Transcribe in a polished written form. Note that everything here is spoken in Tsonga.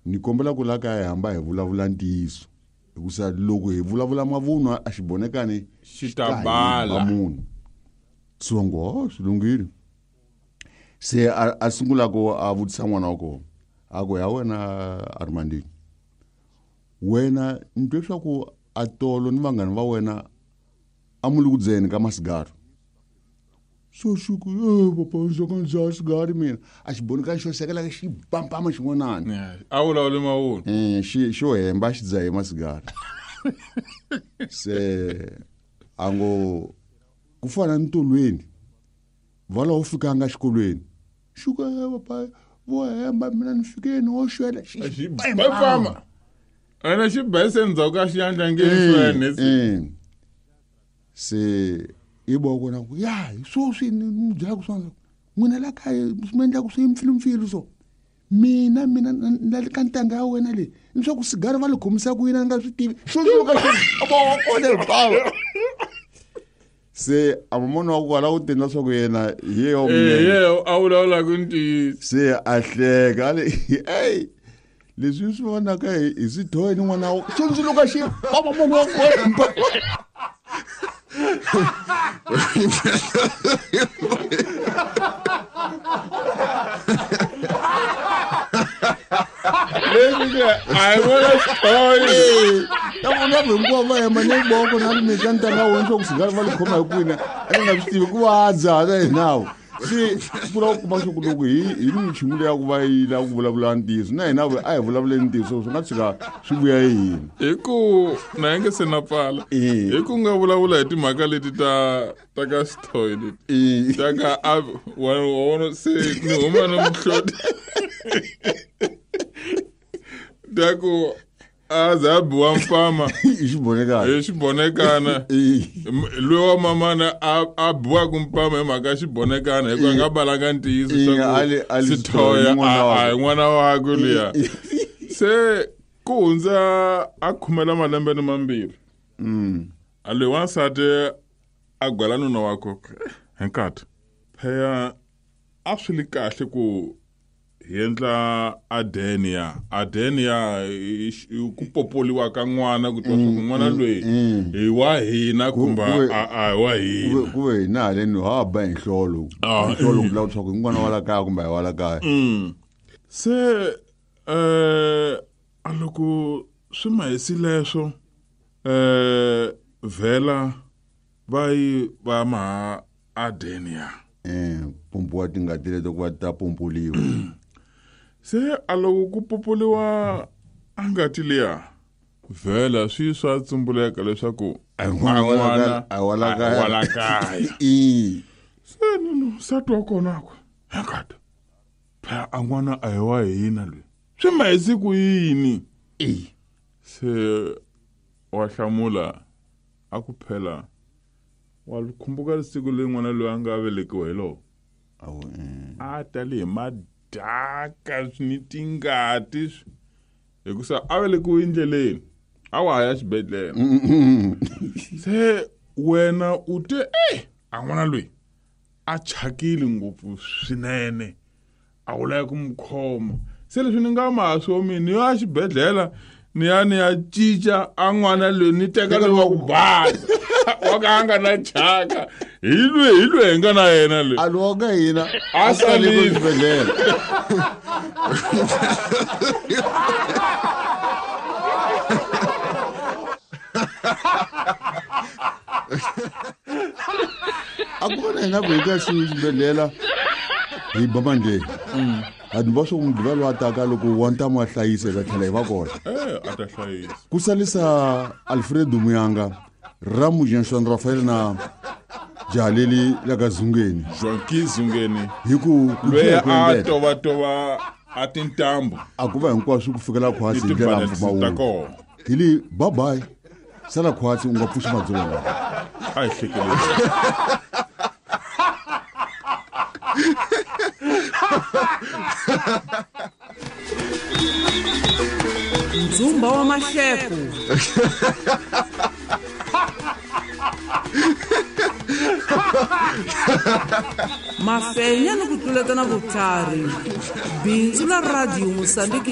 Ni kombela ku la kaya hi hamba hi vulavula ntiyiso hikusa loko hi vulavula mavunwa a xibonekani Xi ta bala. munhu. So ngo oh, swi lunghile. Se a sungula ku a vutisa n'wana wa kona, a ku ya wena Armandini, wena ni twe swa ku a tolo ni vanghana va wena a mu le ku dzeni ka masigari. So xi ku papa ndzi ka ndzi dzaha sigari mina. A xi boneka xo sekela xi pampama xin'wanani. A vulavuli mavunwa. Xo hemba xi dzahe masigari. Se a ngo ku fana ni tolweni va laha u fikanga xikolweni, xi ku papa vo hemba mina ni fikeni wo xwela. Xi pampama ene xi bese endzhaku ka xiyandla nge xwene. Se i bo kona ku ya hi swoswi ni mi byela ku swona n'wina la kaya swi mi endla ku swi mpfilumpfilu so mina mina na le ka ntanga ya wena leyi ni swa ku sigari va li khomisa ku yini a ni nga swi tivi xo suka xo bo kona hinkwavo. Se a mamona wa kwala u tendla swa ku yena hi yeyo ye a vulavulaka ntiyiso. Se a hleka a le ey leswi swi vonaka hi swithoyi ni n'wana wa xondzuluka xi papa munhu wa kwemba. Leswi ke a hi vona xithoyi. Ta vona hinkwavo va hemba ni voko na ri mika ntanga wena swa ku sigari va li khoma hi kwini a ni nga swi tivi ku va dzaha na hinawo. Se ku lava ku kuma swa ku loko hi ni michumu leyi ya ku va yi lava ku vulavula ntiyiso na hina a hi vulavuleni ntiyiso swi nga tshuka swi vuya hi hina. Hi ku na yi nge se na pfala. Hi ku nga vulavula hi timhaka leti ta ka xithoyi leti. Ta ka a wa vona se ni huma ni muhloti. Ta ku a za a biwa mpama. Hi xibonekana. Hi xibonekana. Loyi wa mamana a biwaka mpama hi mhaka ya xibonekana hikuva a nga balanga ntiyiso swa ku Sithoya a hi n'wana wakwe luya. Se ku hundza a khumela malembe ni mambirhi. A loyi wansati a gwala nuna wakwe hi nkati. Phela a swi li kahle ku hi endla adenia. Adenia i ku popoliwa ka n'wana ku twa ku n'wana loyi hi wa hina kumbe a hi wa hina. Ku ve hina haleni ha ba hi nhlolo. Hi nhlolo ku vula leswaku i n'wana wa la kaya kumbe a hi wa la kaya. Se a loko swi mahisi leswo vhela va yi va maha adenia. Pompiwa tingati leto ku va ta pompoliwa. Se a loko ku pompoliwa a ngati liya vhela swi swa tsumbuleka leswaku A hi n'wana wa la kaya, a hi wa la kaya. wa la kaya. Se nunu nsati wa kona ku hankata phela a n'wana a hi wa hina loyi swi mahisi ku yini. Se wa hlamula a ku phela wa khumbuka siku leri n'wana loyi a nga velekiwa hi lowo. A tali hi madaka ni tingati hikusa a velekiwe endleleni a wa ha ya xibedhlele. Se wena u te a n'wana loyi a chakile ngopfu swinene a wu lava ku n'wi khoma. Se leswi ni nga maso mina ni ya xibedhlele ni ya ni ya cinca a n'wana loyi ni teka loyi wa ku basa wa ka a nga na chaka hi loyi hi loyi hi nga na yena loyi a lowa ka hina A salile. Xibedhlele. A ku va na hina ku hi ka xibedhlele hi ba mandleni. A ni va swo mugqivela wa taka loko wa ntamu a hlayisa hi ta tlhela hi va kona. A ta hlayisa. Ku salisa Alfredo Muyanga, Ramu Jean Rafael na Jaleli la ka Zungeni. Joaquin Zungeni. Hi ku ku Loyi tlhela ku a endlela. tovatova a tintambu. A ku va hinkwaswo ku fikela khwatsi hi Ni ndlela ya tibalance ta mpfumawulo. kona. Hi li bye bye. Sala khwatsi u nga pfuxi madzovo lawa. A hi hlekeleni. Ndzumba wa mahleko. Mafenya ni ku tluletana vutlhari. Bindzu la Radio Mozambique.